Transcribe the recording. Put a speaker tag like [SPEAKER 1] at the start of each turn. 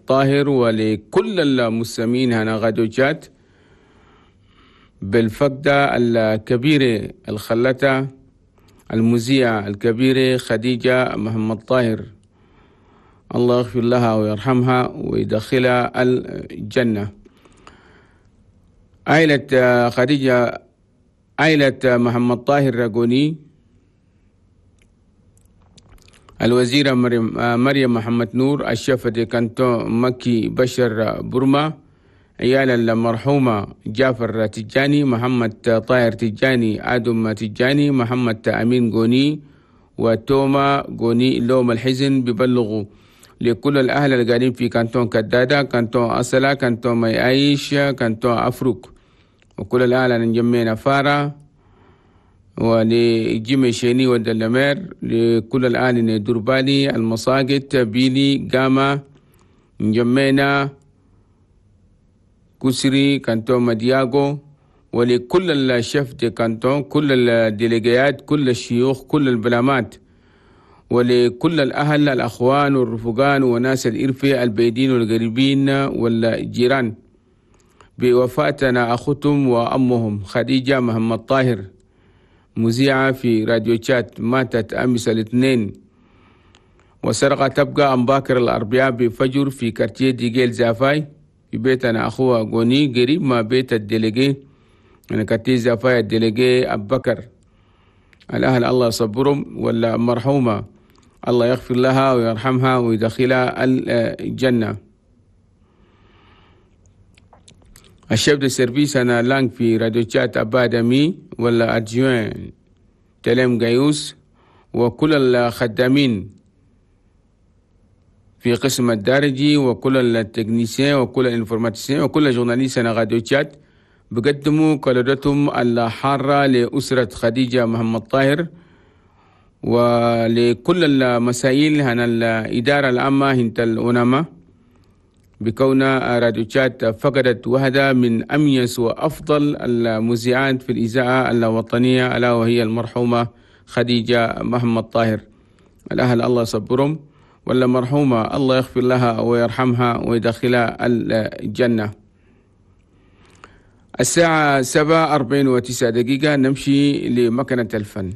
[SPEAKER 1] طاهر ولكل المستمعين هنا راديو تشاد بالفقدة الكبيرة الخلتها المذيعة الكبيرة خديجة محمد طاهر، الله يغفر لها ويرحمها ويدخلها الجنة. عائلة خديجة، عائلة محمد طاهر راجوني، الوزيرة مريم محمد نور، ال chef de canton مكي بشر برما، عيال المرحومة جعفر تجاني، محمد طاهر تجاني، آدم تجاني، محمد أمين جوني، وتوما جوني. لوم الحزن ببلغوا لكل الأهل اللي قاعدين في كانتون كدادة، كانتون أصلا، كانتون ميعيش، كانتون أفروك، وكل الأهل اللي نجمينا فارا، ولجيمي شيني ودلمير، لكل الأهل دربالي، المساقط، بيلي، جاما، نجمينا، كسري، كانتون مدياغو، ولكل ال chefs de canton، كل الديليجيات، كل الشيوخ، كل البلامات، ولكل الأهل الأخوان والرفقان وناس الإرفة البيدين والقريبين والجيران بوفاتنا أختهم وأمهم خديجة محمد طاهر، مذيعة في راديو تشاد، ماتت أمس الاثنين، وسرقة تبقى أمباكر الأربعاء بفجر في quartier ديجيل زافاي في بيتنا أخوها غوني قريب ما بيت ال délégué، يعني quartier زافاي ال délégué أبو بكر. الأهل الله يصبرهم، ولا مرحومة الله يغفر لها ويرحمها ويدخلها الجنة. ال chef de service أنا langue في راديو تشاد أبادمي ولا adjoint تلم جايوس، وكل الخدامين في قسم الدارجي، وكل ال techniciens، وكل ال informaticiens، وكل journalistes أنا راديو تشاد بقدموا كلمتهم الحارة لأسرة خديجة محمد طاهر ولكل المسائل هنا الإدارة العامة هنت الأنامة، بكون راديو تشاد فقدت واحدة من أميز وأفضل المذيعات في الإذاعة الوطنية، ألا وهي المرحومة خديجة محمد طاهر. الأهل الله يصبرهم، ولا مرحومة الله يغفر لها ويرحمها ويدخلها الجنة. الساعة 7:49 نمشي لمكنة الفن.